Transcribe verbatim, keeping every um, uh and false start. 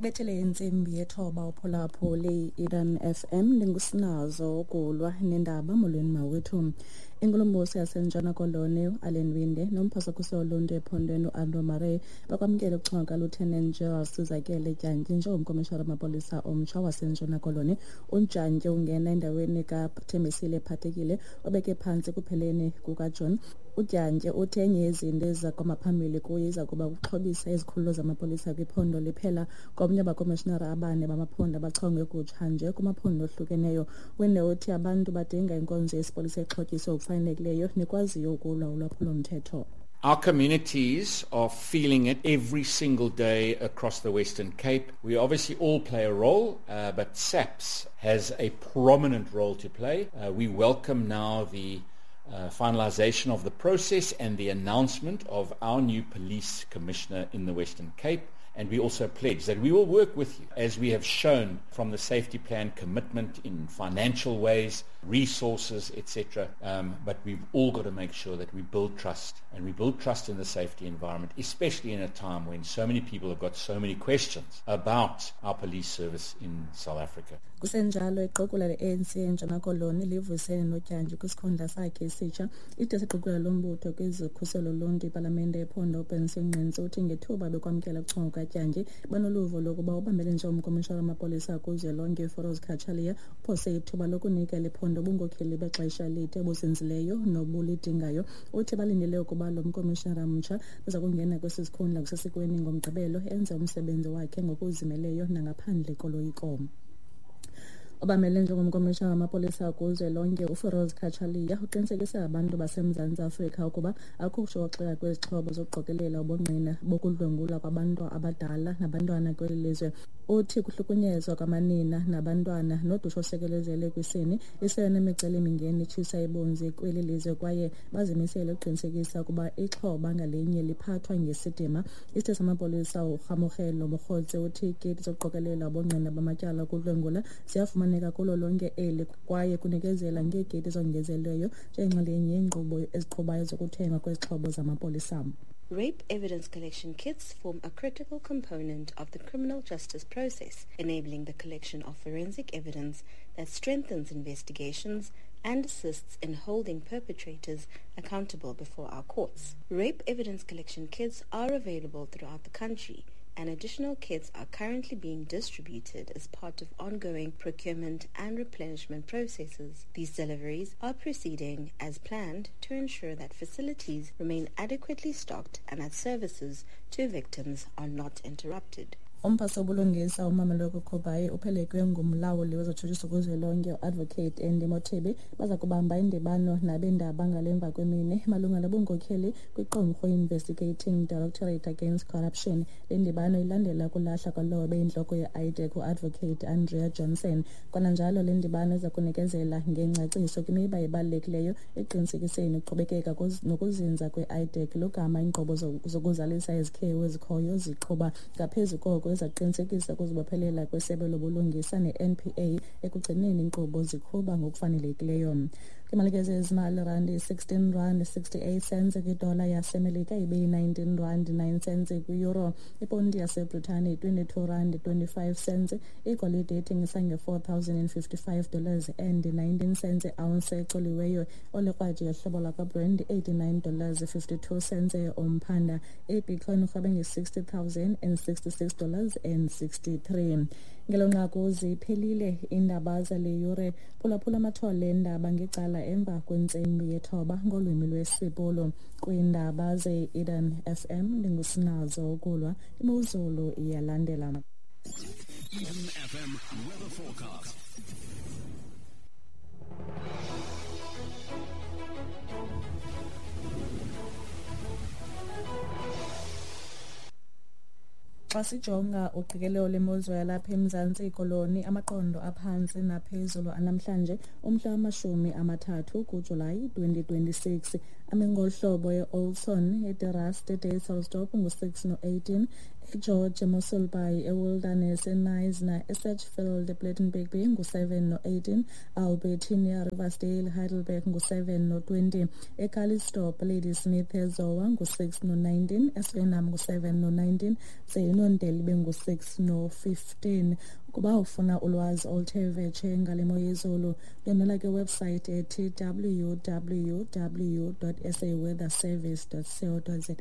Ibethele intsimbi yethoba uphulaphuli Eden F M ndingusinazo ukulwa nendaba. Molweni mawethu. Inkulumbuso yaseNtshona Koloni uAllan Winde nomphasakuso woluntu ephondweni uAndrew Murray bakwamkele ukuchonga kaLieutenant General Sizakele Dyantyi njengomkomishinala wamapolisa omtsha waseNtshona Koloni. UDyantyi ungena endaweni kaThembisile Phathekile obeke phantsi ekupheleni kukaJuni. UDyantyi uthi enye yezinto eziza kwamaphambili kuye iza kuba kuxhobisa izikhululo zamapolisa kwiphondo liphela. Komnye abakomishinara abane bamaphondo abachongwe kutsha nje kumaphondo ohlukeneyo. Winde uthi abantu badinga inkonzo yesipolisa exhotyiswe ngokufanelekileyo nekwaziyo ukulwa ulwaphulomthetho. Our communities are feeling it every single day across the Western Cape. We obviously all play a role, uh, but SAPS has a prominent role to play. Uh, we welcome now the Uh, finalization of the process and the announcement of our new police commissioner in the Western Cape. And we also pledge that we will work with you, as we have shown from the safety plan commitment in financial ways, resources, et cetera. Um, but we've all got to make sure that we build trust, and we build trust in the safety environment, especially in a time when so many people have got so many questions about our police service in South Africa. Kusenjalo iqokula le-A N C eNtshona Koloni livusene noDyantyi kwisikhundla sakhe esitsha. Ide siqokula lombutho kwezokhuselo loluntu ipalamente yephondo uBenson Ngqentsi uthi ngethuba bekwamkela ukuchonga kukaDyantyi banoluvo lokuba ubambele njengomkomishinala wamapolisa kuzwelonke uFiroz Cachalia uphose ithuba lokunika liphondo ubunkokheli bexesha elide obuzinzileyo nobulidingayo. Uthi balindele ukuba lo mkomishinala mtsha uza kungena kwesi sikhundla kusesikweni ngoMgqibelo enze umsebenzi wakhe ngokuzimeleyo nangaphandle koloyiko. Obamele njengomkomishinala wamapolisa kuzwelonke uFiroz Cachalia uqinisekise abantu baseMzantsi Afrika ukuba akukho kushokoxeka kwezixhobo zokuqokelela ubungqina bokudlwengulwa kwabantu abadala nabantwana kweli lizwe. Uthi kuhlukunyezwa kwamanina nabantwana nodushe osekelezele kwisini iseyona micelimingeni itshisa ibunzi kweli lizwe kwaye bazimisele ukuqinisekisa ukuba ixhoba ngalinye liphathwa ngesidima. Isithethi samapolisa uRhamogelo Mokgotsi uthi iikiti zokuqokelela ubungqina bamatyala okudlwengula ziyafumaneka kulo lonke eli kwaye kunikezela ngeekiti ezongezelelweyo njengenxalenye yeenkqubo eziqhubayo zokuthengwa kwezixhobo zamapolisa. Rape evidence collection kits form a critical component of the criminal justice process, enabling the collection of forensic evidence that strengthens investigations and assists in holding perpetrators accountable before our courts. Rape evidence collection kits are available throughout the country, and additional kits are currently being distributed as part of ongoing procurement and replenishment processes. These deliveries are proceeding as planned to ensure that facilities remain adequately stocked and that services to victims are not interrupted. Umphathi wobulungisa uMameloko Khobayi uphelekwe ngumlawuli wezotshutshiso kuzwelonke uAdvocate Andy Mothibi baza kubamba indibano nabendaba ngalemva kwemini malunga nobunkokheli kwiqumrhu Investigating Directorate Against Corruption. Le ndibano ilandela ukulahla kwalowo beyintloko ye-I D E C uAdvocate Andrea Johnson. Kwananjalo le ndibano iza kunikezela ngengcaciso kwimiba ebalulekileyo eqinisekiseni ukuqhubekeka nokuzinza kwe-I D E C logama iinkqubo zokuzalisa izikhewu ezikhoyo ziqhuba. Ngaphezu koko izaqinisekisa ukuzibophelela kwesebe lobulungisa ne-N P A ekugcineni iinkqubo ziqhuba ngokufanelekileyo. Kwimalike zezimali, randi sixteen rand sixty-eight cents kwidola yaseMelika ibe yi-nineteen rand nine cents kwi-euro. Iponti yaseBritane twenty-two rand twenty-five cents. Igolide ithengisa nge-four thousand and fifty-five dollars and nineteen cents ounce ecoliweyo. Olikrwaji yohlobo lakwaBrand eighty-nine dollars fifty-two cents umphanda. IBitcoin irhwebe nge-sixty thousand and sixty-six dollars and sixty-three. Ngelo nqaku ziphelile iindaba zale yure. Phulaphula amathole eendaba ngecala emva kwentsimbi yethoba ngolwimi lwesiBhulu. Kwiindaba ze-Eden F M ndingusinazo ukulwa. Imozulu iyalandela. Eden F M weather forecast. Xa sijonga uqikelelo lemozulu yalapha eMzantsi Koloni, amaqondo aphantsi naphezulu anamhlanje umhla wamashumi amathathu kuJulayi twenty twenty-six Ame ngolu hlobo: e-Oudtshoorn, eDe Rust, eDysselsdorp ngu-six no-eighteen, eGeorge, eMossel Bay, eWilderness, eKnysna, eSedgefield, ePlettenberg Bay ngu-seven no-eighteen, Albertinia, Riversdale, Heidelberg ngu-seven no-twenty, eCalitzdorp, Ladysmith, eZowa ngu-six no-nineteen, eSuriname ngu-seven no-nineteen, ze iNondel ibe ngu-six no-fifteen. Ukuba ufuna ulwazi oluthe vetshe ngale mo yezulu, ndwendwela kwiwebsite ethi w w w dot saweatherservice dot co dot za.